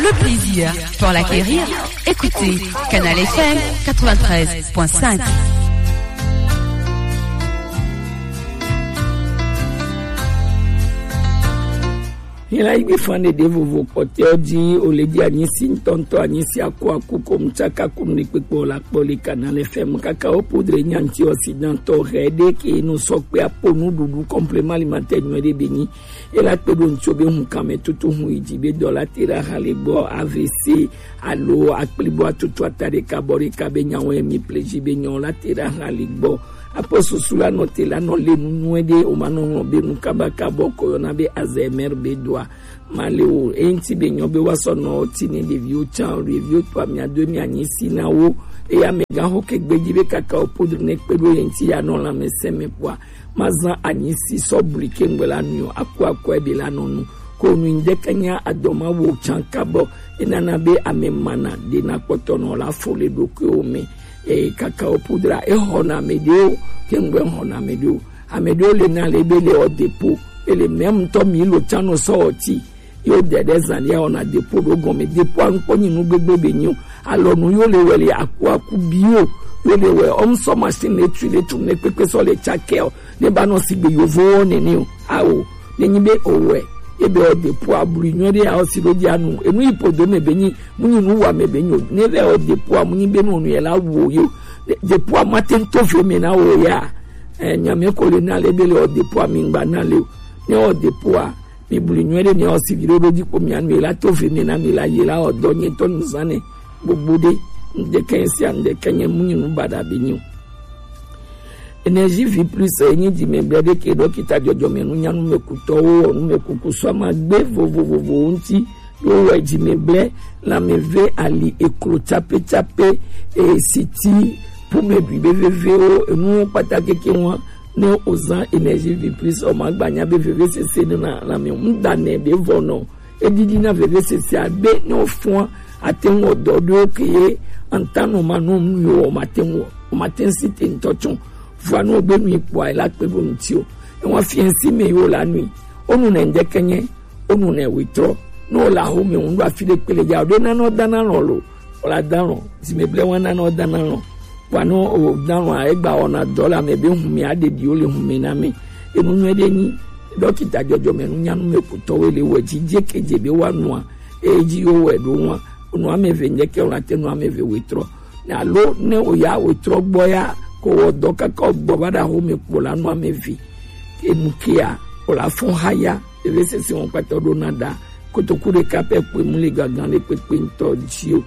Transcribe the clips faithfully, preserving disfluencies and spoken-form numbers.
Le plaisir pour l'acquérir, écoutez Canal F M quatre-vingt-treize point cinq. Hila igbe fan ɖeɖe vovo kpɔtɛwo ji o le ji anyisi ŋutɔŋutɔ, anyisi akuaku ko mu tsaka kunu ɖe kpekpe o la kpɔ le Canal F M kaka o poudre nyanti o si dantɔ hɛ ɖe ke no sɔ kpe apo nuɖuɖu complément alimentaire nyuie ɖe be nyi. Ela kpe ɖo ŋutsu be hun kame tutu hun yi dzi be dɔ la te ɖe aha le gbɔ A V C alo akplibo atutu ata ɖeka bɔ ɖeka be nyawo emi pleji be nyawo la te ɖe aha le gbɔ. Apo susu la nɔ te la nɔ le nu nyuie ɖe o ma nɔ ŋlɔ be nu kaba kabɔ ko yɔna be Alzheimer be doa ma le o. Eŋti be nyɔ be wa sɔ nɔ ti ne ɖeviwo tsan ɖeviwo to amia do mi anyi si na wo. Eya me gan ho ke gbeji be kaka o poudre ne kpe ɖo ye ŋti ya nɔ lãmesẽ me kpɔa. Mazã anyisi sɔ bli ke ŋgbe la nui o, aku akɔe be la nɔ nu. Ko nu ŋdeke nya adɔ ma wo tsan kabɔ. Enana be ame mana ɖe na kpɔtɔ nɔ la fo le ɖokuiwo me. E kaka o poudre e xɔna ame ɖewo ke ŋgbe xɔna ame ɖewo. Ame ɖewo le na le be le ɔ depo. Ele mɛ ŋutɔ mi lo tsan nɔ sɔ ɔ ti. Yo dede zan ya ona depo ɖo gɔme. Depo a ŋkpɔ nyi nu gbegbe be nyi o. Alɔ nu yo le wɛ le aku aku bi o. Yo le wɛ ɔm sɔ machine le tu le tu ne kpekpe sɔ le tsakɛ o. Ne ba nɔ si gbe yovo wɔ nene o. Awo. Ne nyi be o wɛ. Ebe o depo a blu nyɔ de a o si ɖo di anu. Enu yi podo me be nyi. Mu nyi nu wa me be nyi o. Ne be o depo a mu nyi be nu onu yɛ la wo yo. Depo a ma te ŋutɔ fe me na wo ya. Eh, nyame ko le na le be le o depo a mi ŋgba na le o. Ne o depo a. Mi blu nyuie ɖe miawo si viɖe ɖo dzi kpo mia nu la to ve mi na mi la yi la ɔ dɔ nye tɔ nu zã nɛ gbogbo ɖe ŋdeke sia ŋdeke nye mu nyi nu baɖa be nyi o. Energie vie plus enyi dzimegbe ɖe ke ɖɔkita dzɔdzɔme nu nyanu me kutɔwo wɔ nu me kuku sɔ ma gbe vovovovowo ŋuti ɖo wɔ dzimegbe lãmeve ali eklo tsape tsape e siti pume ɖui be vevewo enuwo kpata keke ŋua Ne o zã Energie Vie Plus o ma gba nya be vevesese ɖe na lãme ŋu da nɛ be vɔ nɔ. Edidi na vevesese a be ne o fɔa ate ŋu o dɔ ɖo ke ye anta nɔ ma nɔ nu yo o ma te ŋu o ma te ŋu si te ŋutɔ tsɔ. Vɔa ne o be nu yi kpɔa e la kpe ɖo ŋuti o. Ewa fiɛ ŋsi me yo la nui. O nu nɛ ŋdeke nye o nu nɛ wetrɔ. Ne o la ho me ŋu ɖo afi ɖe kpele dza o ɖe na nɔ da na lɔ lo. Wala dalɔn, zimeble wana nɔ dana lɔn. Kpanu o dalɔn a egba wɔna dɔ le ame be hume aɖeɖiwo le hume na me. Enu nyuie ɖe nyi dɔkita dzɔdzɔme nu nyanu me kutɔwo le wɔ dzi dze ke dze be wa nua. Eyi dzi yo wɔ ɖo nua. Nu ame eve nye ke wala te nu ame eve wetrɔ. Ne alo ne o ya wetrɔ gbɔ ya ko wɔ dɔ kaka o gbɔ va ɖa ho me kpo la nu ame eve. Enu kea o la fɔn ha ya. Eve sese wɔn kpatɔ ɖo na ɖa. Kotoku ɖeka pɛ kpoe mu le gangan le kpekpe ŋutɔ dzi o.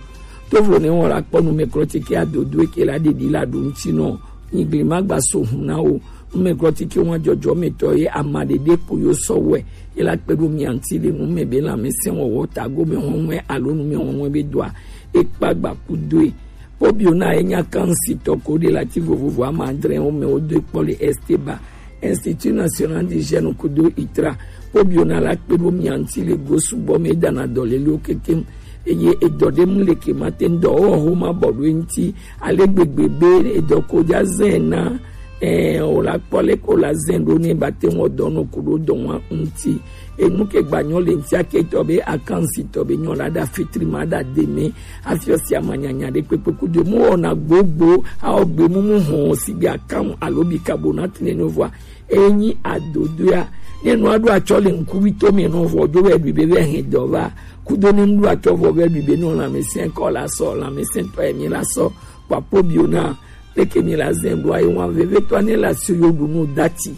Tovo ne wɔn la kpɔ numɛklɔtike adodo eke la ɖeɖi la ɖo ŋuti nɔ. Nyigli ma gba so hun na wo. Numɛklɔtike wɔn dzɔdzɔmetɔ ye ama ɖeɖe kpo yo sɔ wɛ. Ye la kpe ɖo mia ŋuti le nume be lãmesẽ wɔwɔ tago me hɔnwe alo nume hɔnwe be doa. Ekpa gba kudoe. Pobiona enya kan sitɔ ko de la ti vovovo ama adre wo me wo do kpɔ le Esteba. Institut National du Jeune kudo itra. Pobiona la kpe ɖo mia ŋuti le go sugbɔ me dana dɔ le lo kekem. Eye edɔ ɖe mu le ke ma te ŋdɔ wo ho ma bɔ ɖo ŋuti. Ale gbegbe be edɔ ko dza zɛn na eh, o la kpɔ le ko la zɛn ɖo ne ba te ŋu dɔ nɔ ko ɖo dɔ wa ŋuti. Enu ke gba nyɔ le ŋuti ake tɔ be akansi tɔ be nyɔ la da fitri ma da de me. Afi o si ama nyanya ɖe kpekpe ku de mu wɔna gbogbo a o gbe mumu hɔn si gbe akan alo bi kabo na tine no vɔa. Enyi adodoa ne nua ɖo atsɔ le ŋkuvi to me nɔ vɔ do wɛ ɖui be vɛ hɛn dɔ va kudo ne ŋɖo atsɔ vɔ vɛ ɖui be nɔ lãmesẽ kɔ la sɔ lãmesẽ tɔ emi la sɔ kpapo bio na. Leke mi la zɛn ɖo ayi wan vevetɔ ne la si yo ɖu nu dati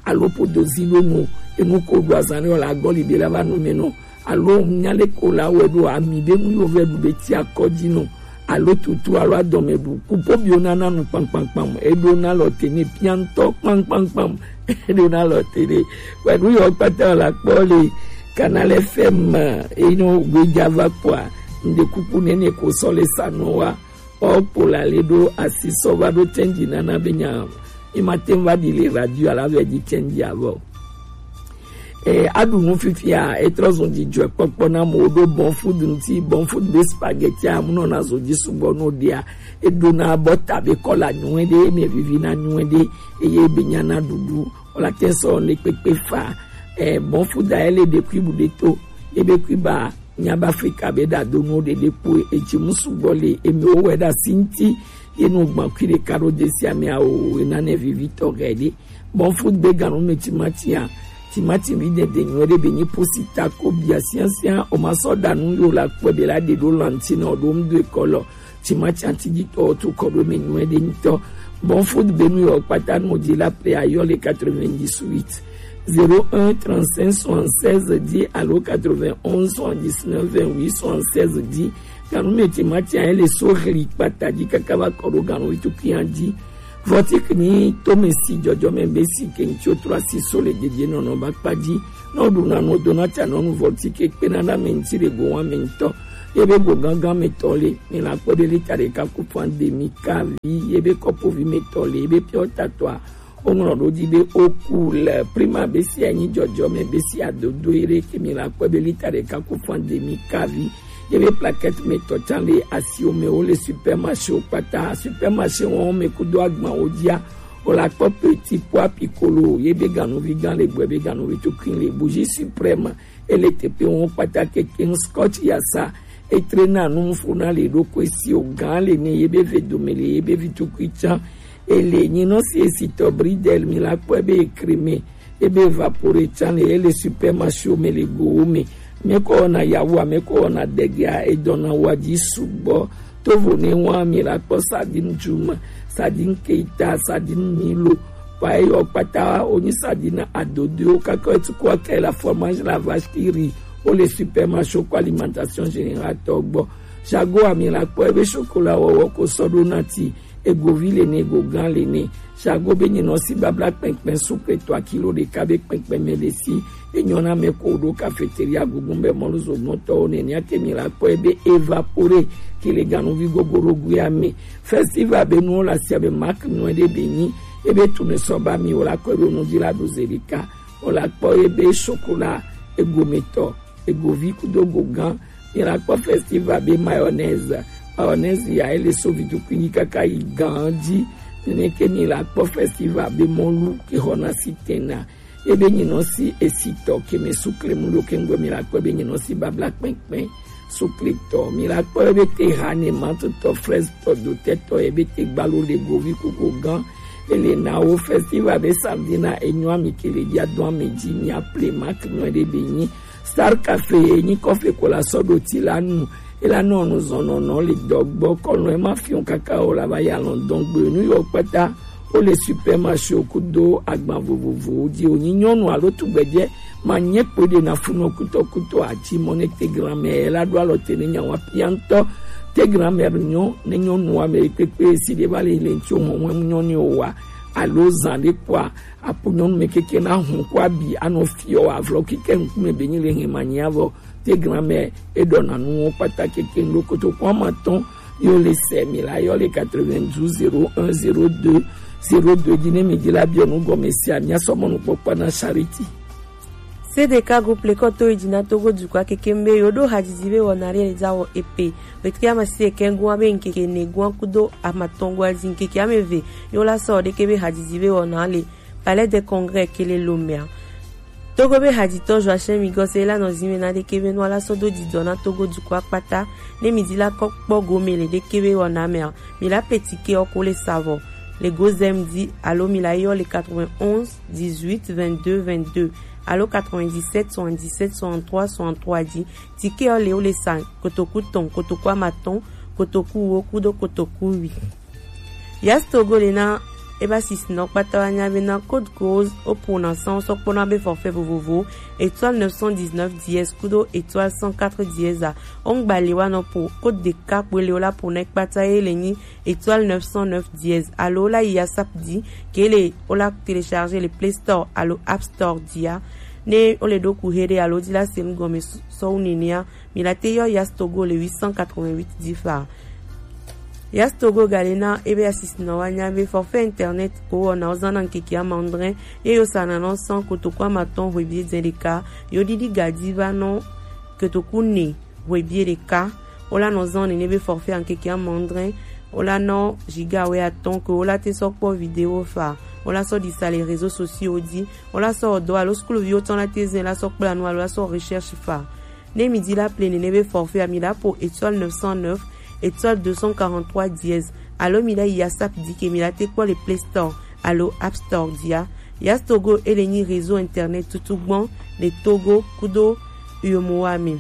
alo podo zi ɖo nu enu ko ɖu azan ɖe la gbɔ li be la va nu me nɔ alo nya le ko la wɛ ɖo ami be nu yo vɛ ɖu be ti akɔ dzi nɔ alo tutu alo adɔme ɖu kupo bio na na nu kpankpankpam eɖo na lɔ te ne piantɔ kpankpankpam eɖo na lɔ te ɖe wɛ nu yɔ kpata la kpɔ le Canal F M eno gbedza va kpɔa ŋde kuku nene ko sɔ le sa nɔ wa. Ɔ kpo la le ɖo asi sɔ va ɖo tɛnji nana be nya mi ma te va ɖi le radio ala vɛ dzi tɛnji avɔ. E aɖu nu fifia etrɔ zɔn dzidzɔ kpɔkpɔ na mo ɖo bon food ŋuti bon food be spaghetti amu nɔ na zɔ dzi sugbɔ no ɖia eɖo na bɔ ta be kɔla nyuie ɖe eme vivi na nyuie ɖe eye be nya na ɖuɖu wala te sɔ ne kpekpe fa e bon food a ele ɖe kui bu ɖe to ebe kui ba Nya ba Afrika be da do no de de po e ji musu gbɔ le emi o wɛ da sinti ye no gban kui de karo de si ame a o e na ne vivi tɔ gɛ de. Bon foot be ganu me timati a. Timati mi de de nyɔ de be ni pusi ta ko bia siansian o ma sɔ da nu yo la kpɔ be la de do lanti na o do mu do e kɔ lɔ. Timati anti di tɔ tu kɔ do me nyɔ de ni tɔ. Bon foot be nu yo kpata no di la pre a yo le quatre-vingt-dix-huit. Zéro un trente-cinq soixante-seize dix alo quatre-vingt-onze soixante-dix-neuf vingt-huit soixante-seize dix. Ganu me timati a ele so hli kpata di kaka va kɔ do ganu itu kian di. Vɔtik ni to me si jɔjɔ me be si ke ŋtsi o tro asi so le dede nɔnɔ ba kpa di. Nɔ du na nɔ do na ta nɔnu vɔtik e kpe na na me ŋtsi le go wa me ŋtɔ. Ye be go gangan me tɔ le. Mi la kpɔ de lita de ka ku fan de mi ka vi. Ye be kɔpo vi me tɔ le. Ye be piɔ ta tɔ a. O ŋlɔ ɖo dzi be o ku le prima be si anyi jɔjɔ me be si adodo yi ɖe ke mi la kpɔ be lita ɖeka ku fan de mi kavi. Ye be plaquette me tɔ tsan le asiwo me wo le supermarché wo kpata. Supermarché wɔn me kudo agban wo dzia. O la kpɔ petit pois piccolo ye be ganuvi gan le gbɛ be ganuvi tukui le bougie suprême. Ele teƒe wɔn kpata kekeŋ. Scotch yasa etrena nu funa le ɖokui si o gan le ne ye be ve dome le ye be vi tukui tsan. Ele nyinɔ si esitɔ bridel mi la kpɔe be ekreme ebe vapore tsan le ele supermarché me le gowo me. Meko na yawu meko na degea edɔna wa dzi sugbɔ. Tovo ne wa mi la kpɔ sardine djuma, sardine keita, sardine milo. Kpa eyɔ kpata wonyi sardine adodoewo kaka etuku ake la fromage la vache qui rit wo le supermarché ko alimentation générale tɔ gbɔ. Jago ami la kpɔ ebe chocolat wɔwɔ ko sɔ ɖo nati. Egovi le ne, egogan le ne. Jago be nyinɔ si babla kpɛnkpɛn sukle tɔ akilo ɖeka be kpɛnkpɛn me le si. Enyɔ na me ko ɖo cafeteria gugun be mɔlu zogbɔntɔwo nenia ke mi la kpɔ ebe evapore ke le ganuvi gogorogoea me. Festival be nuwo la sia be mak nue ɖe be nyi ebe tune sɔ ba mi wo la kɔ ɖo nu dzi la ɖo ze ɖeka. Wo la kpɔ ebe chocolat egometɔ, egovi kudo gogan. Mi la kpɔ festival be mayonnaise. Mayonnaise ya ele so vidukunyi kaka yi gan dzi. Nene ke mi la kpɔ festival be mɔlu ke xɔna si tena. Ebe nyinɔ si esitɔ ke me sukle mu ɖo ke ŋgɔ mi la kpɔ be nyinɔ si babla kpɛnkpɛn. Sukle tɔ mi la kpɔ ebe te ha ne mantotɔ fraise tɔ dotɛ tɔ ebe te gbalo le govi kugo gan. Ele na wo festival be sardine enyɔ ami ke le dia dɔn ami dzi mi aple mak nɔ ɖe be nyi. Star Cafe enyi kɔfe ko la sɔ ɖo ti la nu. Ela nɔ nu zɔn nɔnɔ le dɔgbɔ kɔnɔ ema fiɔn kaka o la va ya lɔn dɔn gbe nu yɔ kpata. Wo le supermarché kudo agban vovovowo dzi wonyi nyɔnu alo tugbedze ma nye kpo ɖe na funɔ kutɔkutɔ ati mɔ ne te grand-mère la ɖo alɔ te ne nyawa pia ŋutɔ. Te grand-mère nyɔ ne nyɔnu ame kpekpe si ɖe va le le ŋtsi o mɔ nyɔ ni o wa alo zan ɖe kpɔa apo nyɔnu me keke na hun kɔ abi anɔ fiɔ avlɔ kike ŋkume be nyi le hɛn ma nyi avɔ. Te grand-mère eɖɔ na nuwo kpata keke ŋɖo kotoku ama tɔn yo le sɛ mi la yɔ le quatre-vingt-douze zéro un zéro deux zéro deux dzi ne mi dzi la biɔ nu gɔme sia mi asɔ mɔnukpɔkpɔ na Charity. C D K groupe le kɔto yi dzi na Togo dukɔa keke be yo ɖo hadzidzi be wɔna ɖe le dza wɔ epe. Wetri ama si eke gua be ŋkeke ne gua kudo ama tɔn gua dzi ŋkeke ame ve yo la sɔ ɖeke be hadzidzi be wɔna le Palais des Congrès ke le Lomea. Togo be hadzitɔ Joachim Migos la nɔ zinwe na ɖeke be nua la sɔ do didɔ na Togo dukɔa kpata ne mi di la kɔ kpɔ gome le ɖeke be wɔna mea. Mi la pe tike ɔ ko le savɔ le gozem di alo mi la yɔ le quatre-vingt-onze dix-huit vingt-deux vingt-deux alo quatre-vingt-dix-sept soixante-dix-sept soixante-trois soixante-trois di. Tike ɔ le wo le sa kotoku tɔn, kotoku amatɔn, kotoku wo kudo kotoku wi. Yas Togo le na ebe asisinɔ kpata wa nya be na code rose o po na san sɔ kpɔna be forfait vovovo étoile neuf cent dix-neuf dièse kudo étoile cent quatre dièse a. O ŋgba le wa nɔ po code ɖeka kpoe le o la po na kpata ye le nyi étoile neuf cent neuf dièse alo o la yi asap di ke le o la télécharger le Play Store alo App Store dia. Ne o le ɖo ku he ɖe alo di la se nu gɔme sɔ wu nenea mi la te yɔ Yas Togo le huit cent quatre-vingt-huit di fa. Yas Togo ga le na ebe asisinɔ wa nya be forfait internet ko wɔna o zan na ŋkeke ama adre ye yo sa na nɔ san kotoku ama tɔn hwebie dze ɖeka yo ɖiɖi ga di va nɔ kotoku ne hwebie ɖeka. O la nɔ zan nene be forfait ŋkeke ama adre. O la nɔ giga wɛ atɔn ke o la te sɔ kpɔ vidéo fa. O la sɔ ɖi sa le réseaux sociaux di. O la sɔ dɔ alo sukluviwo tɔn la te zɛn la sɔ kpla nu alo la sɔ recherche fa. Ne mi di la ple nene be forfait a, mi la po étoile neuf cent neuf étoile deux cent quarante-trois dièse, alo mi la yi asap di ke mi la te kpɔ le Play Store alo App Store dia. Yas Togo ele nyi réseau internet tutu gbɔn le Togo kudo Uyomowa me.